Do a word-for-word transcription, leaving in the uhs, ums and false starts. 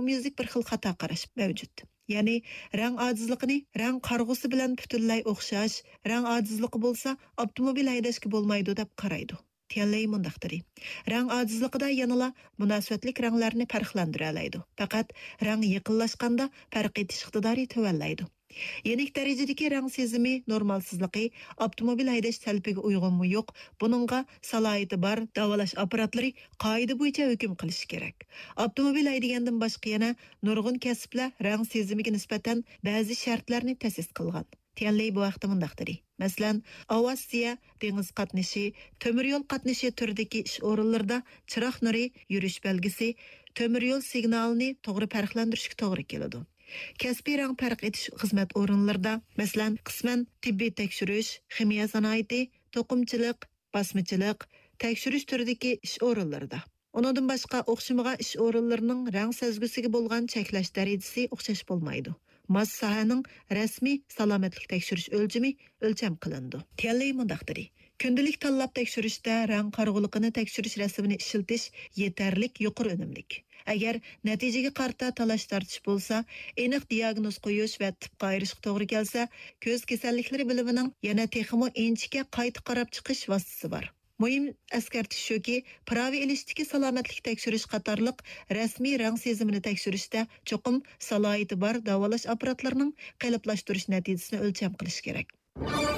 ئومۇميۈزلۈك بىر خىل خاتا قاراش مەۋجۇت. يەنى رەڭ ئاجىزلىقىنى رەڭ قارىغۇسى بىلەن پۈتۈنلەي ئوخشاش، رەڭ ئاجىزلىقى بولسا ئاپتوموبىل ھەيدەشكە بولمايدۇ دەپ قارايدۇ. تيەنلېي مۇنداق دېدى: رەڭ ئاجىزلىقىدا يەنىلا مۇناسىۋەتلىك رەڭلەرنى پەرقلەندۈرەلەيدۇ. پەقەت رەڭ يېقىنلاشقاندا پەرق ئېتىش ئىقتىدارى تۆۋەنلەيدۇ. يېنىك دەرىجىدىكى رەڭ سېزىمى نورمالسىزلىقى ئاپتوموبىل ھەيدەش تەلىپىگە ئۇيغۇنمۇ يوق، بۇنىڭغا سالاھىيىتى بار داۋالاش ئاپپاراتلىرى قائىدە بويىچە ھۆكۈم قىلىشى كېرەك. ئاپتوموبىل ھەيدىگەندىن باشقا يەنە نۇرغۇن كەسىپلەر رەڭ سېزىمىگە نىسبەتەن بەزى شەرتلەرنى تەسىس قىلغان. تيەنلېي بۇ ھەقتە مۇنداق دېدى: مەسىلەن، ئاۋىئاتسىيە، دېڭىز قاتنىشى، تۆمۈر يول قاتنىشى تۈرىدىكى ئىش ئورۇنلىرىدا چىراغ نۇرى، يۈرۈش بەلگىسى، تۆمۈر يول سىگنالىنى توغرا پەرقلەندۈرۈشكە توغرا كېلىدۇ. كەسپىي رەڭ پەرق ئېتىش خىزمەت ئورۇنلىرىدا، مەسىلەن، قىسمەن تېببىي تەكشۈرۈش، خىمىيە سانائىتى، توقۇمىچىلىق، باسمىچىلىق، تەكشۈرۈش تۈرىدىكى ئىش ئورۇنلىرىدا. ئۇنىڭدىن باشقا، ئوخشىمىغان ئىش ئورۇنلىرىنىڭ رەڭ سەزگۈسىگە بولغان چەكلەش دەرىجىسى ئوخشاش بولمايدۇ. ماس ساھەنىڭ رەسمىي سالامەتلىك تەكشۈرۈش ئۆلچىمى ئۆلچەم قىلىنىدۇ. تيەنلېي مۇنداق دېدى: كۈندىلىك تاللاپ تەكشۈرۈشتە رەڭ قارىغۇلۇقىنى تەكشۈرۈش رەسىمىنى ئىشلىتىش يېتەرلىك يۇقىرى ئۈنۈملۈك. ئەگەر نەتىجىگە قارىتا تالاش-تارتىش بولسا، ئېنىق دىياگنوز قويۇش ۋە تىپقا ئايرىشقا توغرا كەلسە، كۆز كېسەللىكلىرى بۆلۈمىنىڭ يەنە تېخىمۇ ئىنچىكە قايتا قاراپ چىقىش ۋاسىتىسى بار. مۇھىم ئەسكەرتىش شۇكى، پىراۋە ئېلىشتىكى سالامەتلىك تەكشۈرۈش قاتارلىق رەسمىي رەڭ سېزىمىنى تەكشۈرۈشتە چوقۇم سالاھىيىتى بار داۋالاش ئاپپاراتلىرىنىڭ قېلىپلاشتۇرۇش نەتىجىسىنى ئۆلچەم قىلىش كېرەك.